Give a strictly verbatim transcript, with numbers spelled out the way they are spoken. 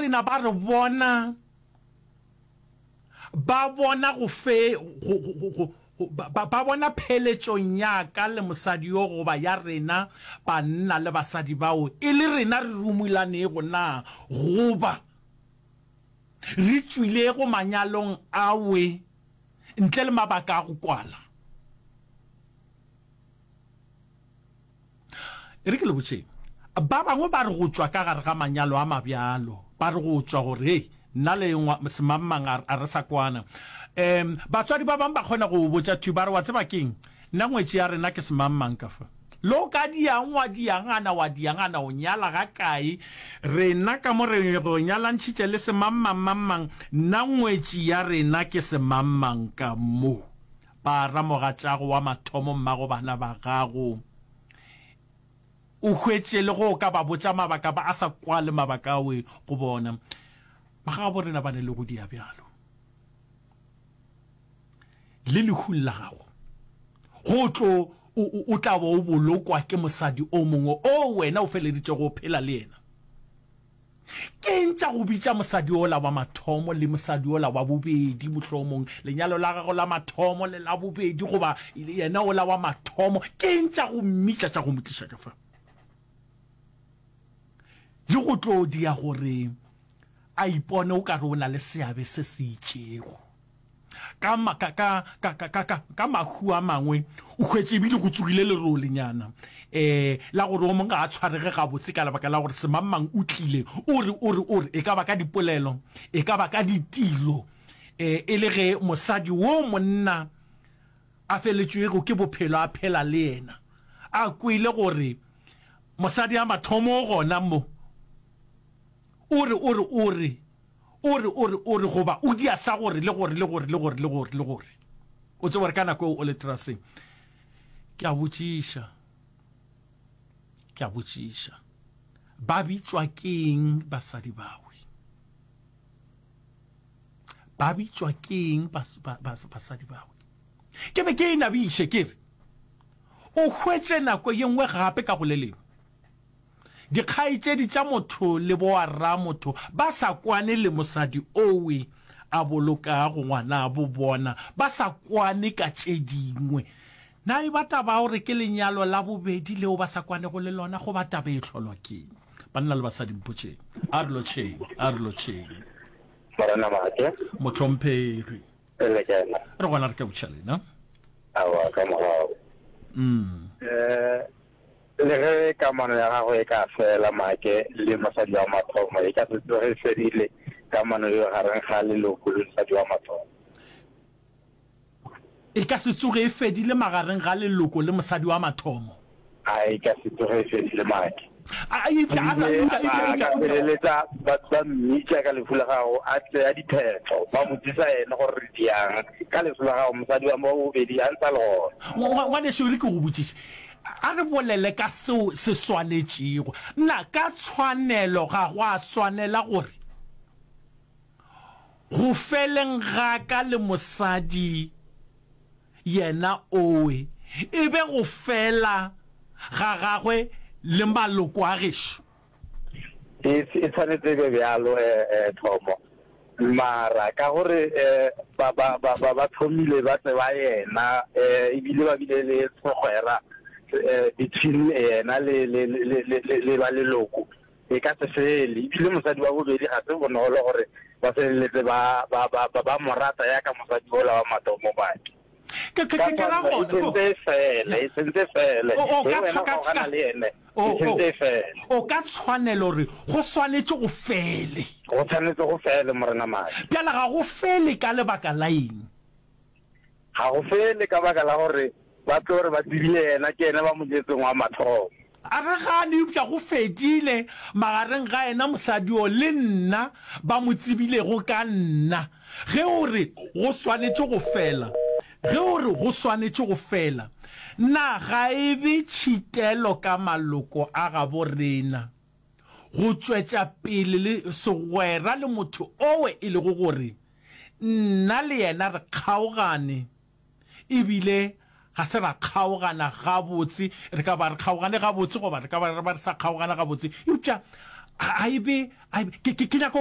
rena ba re bona, ba bona go fe, go, go, go, go, ba, ba, ba bona pheletšong ya ka le mosadi yo goba ya rena banna le basadi bao e le rena re rumulanego na goba re tšwilego manyalong awe ntle le mabaka a go kwala. E re ke le botšeng, ba bangwe ba re go tšwa ka gare ga manyalo a mabjalo, ba re go tšwa gore, hei, nna le semangmang a, a re sa kwana. Um, batswadi ba bangwe ba kgona go botša thwi, ba re, wa tseba keng, nna ngwetši ya rena ke semangmang ka fa. Le o ka diang wa diangana, wa diangana, o nyala ga kae, rena ka mo re go nyalantšhitše le semangmang mangmang, nna ngwetši ya rena ke semangmang ka mo. Ba ra mogatšago wa mathomo mmago bana ba gago. O hwetše le go ka ba botša mabaka ba a sa kwale mabaka awe go bona. Ba gabo rena ba ne le go dia bjalo. Le lehung la gago, go tlo o, o, o tla ba o bolokwa ke mosadi o mongwe o wena o feleditšego o phela le yena. Ke eng tša go bitša mosadi yola wa mathomo le mosadi yola wa bobedi, mohlomong lenyalo la gago la mathomo le la bobedi, goba yena ola wa mathomo? Ke eng tša go mmitša, tša go mo tliša ka fa? Le go tlo dia gore a ipone o ka re o na le seabe se se itšego. Ka, ka, ka, ka, ka, ka, ka, ka mahu a mangwe, o hwetše ebile go tsogile lerolenyana, eh, la gore o mongwe ga a tshwarege gabotse ka lebaka la gore semangmang o tlile, o re, o re, o re, e ka ba ka dipolelo, e ka ba ka ditiro, eh, e le ge mosadi wo monna a feletšwego ke bophelo a phela le yena, a kwele gore mosadi a mathomo o gona mo, o re, o re, o re, o re, o re, o re, goba o dia sa gore, le gore, le gore, le gore, le gore, le gore. O tsebe gore ka nako eo o le teraseng. Ke a botšiša, ke a botšiša, ba bitšwa keng basadi bawe? Ba bitšwa keng bas, ba, bas, basadi bawe? Ke be ke e nabiše, ke re, o hwetše nako ye nngwe gape ka go le lengwe. Dikgaetšedi tša motho le boarramotho ba sa kwane le mosadi owe a bolokago ngwanabo bona, ba sa kwane ka tše dingwe. Na e ba taba ya gore ke lenyalo la bobedi leo ba sa kwanego le lona goba taba e hlolwa ke'ng? Banna le basadi, mpotšeng. A re lotšheng, a re lotšheng. Morena Maake. Mohlomphegi. Le kae na? Re gona re ka botša lena. Aowa, ka mogau. Mm. Eh, Le ge kamano ya gago e ka fela, Make le mosadi wa mathomo, e ka se tsoge e fedile kamano yeo gareng ga leloko le mosadi wa mathomo. E ka se tsoge e fedile magareng ga leloko le mosadi wa mathomo. A e ka se tsoge e fedile, Make. A, eupša, a, Ebile eupša, a eupša, ba eupša, ka eupša. feleletša ba, ba mmitša ka lehu la gago, a tsea diphetho, ba botšiša yena gore re diang ka lehu la gago, mosadi wa bobedi a ntse a le gona. Ngwa, ngwanešu, e re ke go botšiše. A re bolele ka seo se swanetšego. Na ka tshwanelo ga go a swanela gore go feleng ga ka le mosadi yena owe e be go fela ga gagwe le maloko a gešo? E, e tshwanetse e be bjalo, eh, eh, Thomo. Mara ka gore eh, ba, ba, ba, ba, ba thomile ba tseba yena, eh, ebile ba bile le segwera, eh, between yena le, le, le, le, le, le ba leloko, e ka se fele. Ebile mosadi wa bobedi ga se bonolo gore ba feleletse ba, ba, ba, ba, ba mo rata yaka mosadi wola wa mathomo, Maki. Ke, ke, Ka ke, ke ra tshwanelo, e gona, ko. sentse e fele, e sentse e fele. O, o Ge ka wena tshwa, o ka, kgaogana ka, le yene, o, e o, sentse e fele. o ka tshwanelo re go swanetše go fele. Go tshwanetse go fele, Morena Madi. Bjale ga go fele ka lebaka la eng? Ga go fele ka baka la gore ba tlo re ba tsebile yena, ke yena ba mo jetseng wa mathomo. A re gane, eupša go fedile magareng ga yena mosadi yo le nna ba mo tsebilego ka nna. Ge o re go swanetše go fela, ge o re go swanetše go fela, na ga e be tšhitelo ka maloko a gabo rena go tšwetša pele le segwera le motho owe e lego gore nna le yena re kgaogane e bile ga se ra kgaogana gabotse, re ka ba re kgaogane gabotse goba re ka ba re ba re sa kgaogana gabotse, eupša a e be, a e be, ke, ke, ke nyaka go